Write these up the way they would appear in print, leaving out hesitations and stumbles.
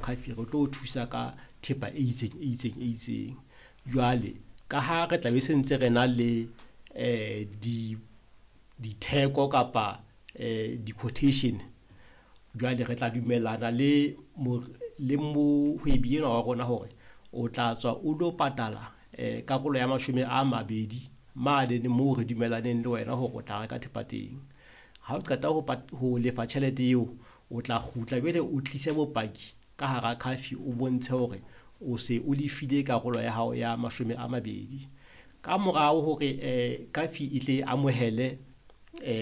CAFI re tlo o thusa ka thepa e itseng e itseng e itseng. Jwale ka ha re tla be se ntse re na le ditheko kapa di-quotation, jwale re tla dumellana le mohwebi enwa wa rona hore o tla tswa o lo patala karolo ya 20 mane moo re dumellaneng le wena hore o tla reka thepa teng. Ha o qeta ho lefa tjhelete eo, o tla kgutla jwale o tlise bopaki ka hara CAFI, o bontshe hore o se o lefile karolo ya hao ya 20. Ka morao hore CAFI e tle amohele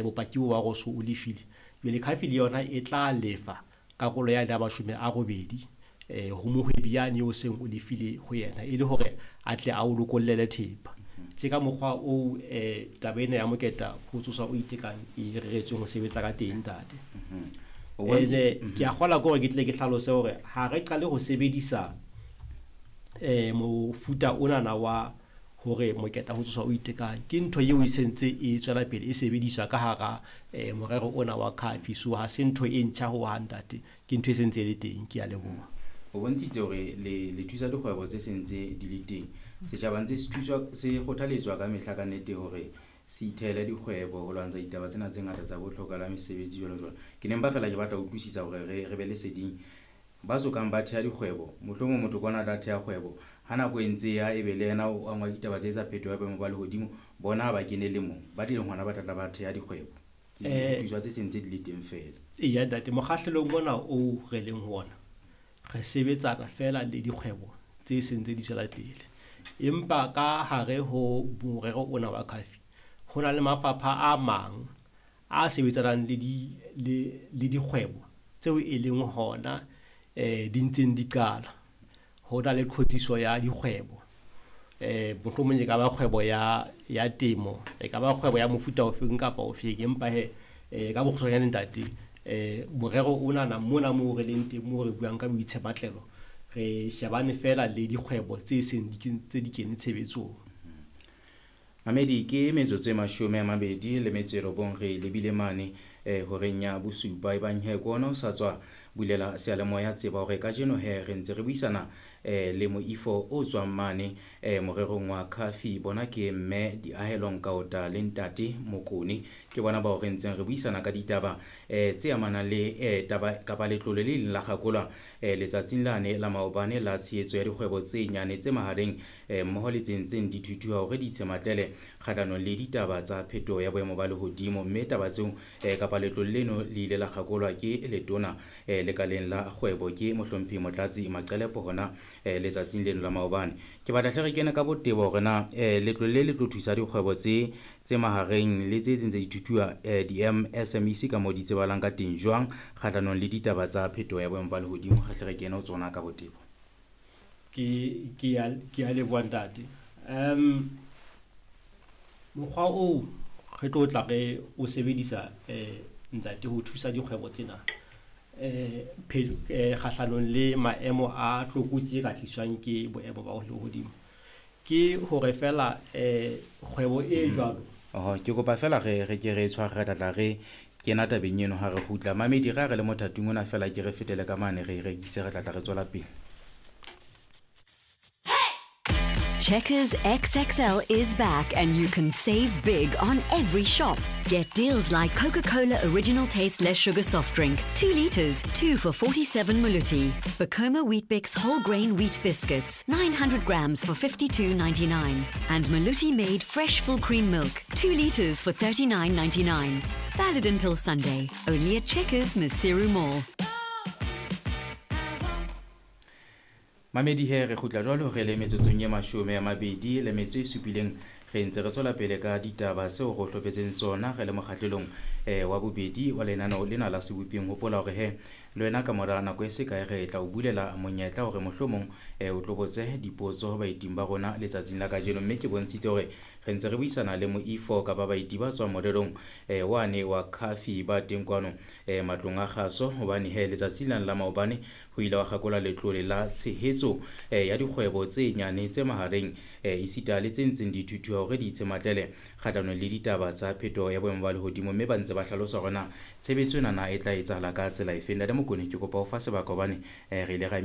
bopaki bo ba hore o so o lefile, jwale CAFI le yona e tla lefa karolo ya 80 ho mohwebi yane o seng o lefile ho yena, e le hore a tle a o lokollele thepa. Tje ka mokgwa oo taba ena ya moketa ho tsoswa o itekang e reretsweng ho sebetsa ka teng, ntate. Ene ke a kgola ke hore ke tle ke hlalose hore ha re qale ho sebedisa mofuta onana wa hore moketa ho tsoswa o itekang, ke ntho eo e sentse e tswela pele e sebediswa ka hara morero ona wa CAFI. So ha se ntho e ntjha ho hang, ntate, ke ntho e sentse e le teng. Ke a leboha. O bontshitse hore le thusa dikgwebo tse sentse di le teng. Setjhaba ntse se thuswa, se kgothaletswa ka mehla ka nnete hore se ithehele dikgwebo ho lwantsha ditaba tsena tse ngata tsa botlhoka la mesebetsi jwalo jwalo. Ke ne mpa fela ke batla ho utlwisisa hore re be leseding ba sokang ba theha dikgwebo. Mohlomong motho kwana a tla theha kgwebo, ha nako e ntse ya ebe le yena o angwa ditaba tse tsa phetoho ya boemo ba lehodimo, bona ha ba kene le mo ba tlileng hona ba tla tla ba theha dikgwebo. Ke thuswa tse sentse di le teng fela. Eya ntate, mokgahlelong ona o re leng ho ona re sebetsana fela le dikgwebo tse sentse di tswela pele, empa ka hare ho morero ona wa CAFI ho na le mafapha a mang a sebetsanang le dikgwebo tseo e leng hona di ntseng di qala. Ho na le qhotsiso ya dikgwebo, mohlomong e ka ba kgwebo ya temo, e ka ba kgwebo ya mofuta ofeng kapa ofeng, empa he ka bokgutshwanyane ntate, morero onana mona moo re leng teng moo re buang ka boitshepatlelo, re shebane fela le dikgwebo tse seng tse di kene tshebetsong. Mamedi, ke metsotso e 29 re lebile mane horeng ya bosupa. Ebang he ke ona o sa tswa bulela seyalemoya, tseba hore kajeno he re ntse re buisana le moifo o tswang mane morerong wa CAFI. Bona ke mme Diahelo Nkaota le ntate Mokone, ke bona bao re ntseng re buisana ka ditaba tse amanang le taba kapa letlole le leng la kgakolwa letsatsing lane la maobane la tshehetso ya dikgwebo tse nyane tse mahareng mmoho le tse ntseng di thuthuha hore di itshematlele kgahlanong le ditaba tsa phetoho ya boemo ba lehodimo. Mme taba tseo kapa letlole leno le ile la kgakolwa ke letona lekaleng la kgwebo ke mohlomphehi Motlatsi Maqelepo hona letsatsing leno la maobane. Ke batla hle re kene ka botebo hore na letlole le le tlo thusa dikgwebo tse mahareng le tse tse ntse di thuthuha di-MSMEs ka moo di tsebahalang ka teng jwang kgahlanong le ditaba tsa phetoho ya boemo ba lehodimo. Re hle re kene ho tsona ka botebo. Ke a leboha ntate. Mokgwa oo re tlo tla re o sebedisa ntate ho thusa dikgwebo tsena kgahlanong le maemo a tlokotsi e ka tliswang ke boemo ba lehodimo, ke hore fela kgwebo e jwalo. Ke kopa fela re ke re tshware, re tla re kena tabeng eno ha re kgutla. Mamedi, re ha re le mothating ona fela ke re fetele ka mane re rekise, re tla tla re tswela pele. Checkers XXL is back and you can save big on every shop. Get deals like Coca-Cola Original Taste Less Sugar Soft Drink, 2 liters, 2 for 47 Maluti. Bacoma Weet-Bix Whole Grain Wheat Biscuits, 900 grams for 52.99. And Maluti Made Fresh Full Cream Milk, 2 liters for 39.99. Valid until Sunday, only at Checkers Maseru Mall. Mamedi he re kgutla jwalo re le metsotsong e 27 re ntse re tswela pele ka ditaba tseo re hlophetseng tsona re le mokgahlelong wa bobedi wa lenaneo lena la Seboping. Hopola hore he le wena ka mora nako e se kae re tla o bulela monyetla hore mohlomong o tlo botse dipotso ho baeting ba rona letsatsing la kajeno. Mme ke bontshitse hore re ntse re buisana le moifo kapa baeti ba tswang morerong wane wa CAFI ba teng kwano matlong a kgaso, hobane he letsatsing lane la maobane ho ile wa kgakolwa letlole la tshehetso ya dikgwebo tse nyane tse mahareng esita le tse ntseng di thuthuha hore di itshematlele kgahlanong le ditaba tsa phetoho ya boemo ba lehodimo. Mme ba ntse ba hlalosa hore na tshebetso ena na e tla etsahala ka tsela efe. Ntate Mokone, ke kopa ho fa sebaka hobane re ile ra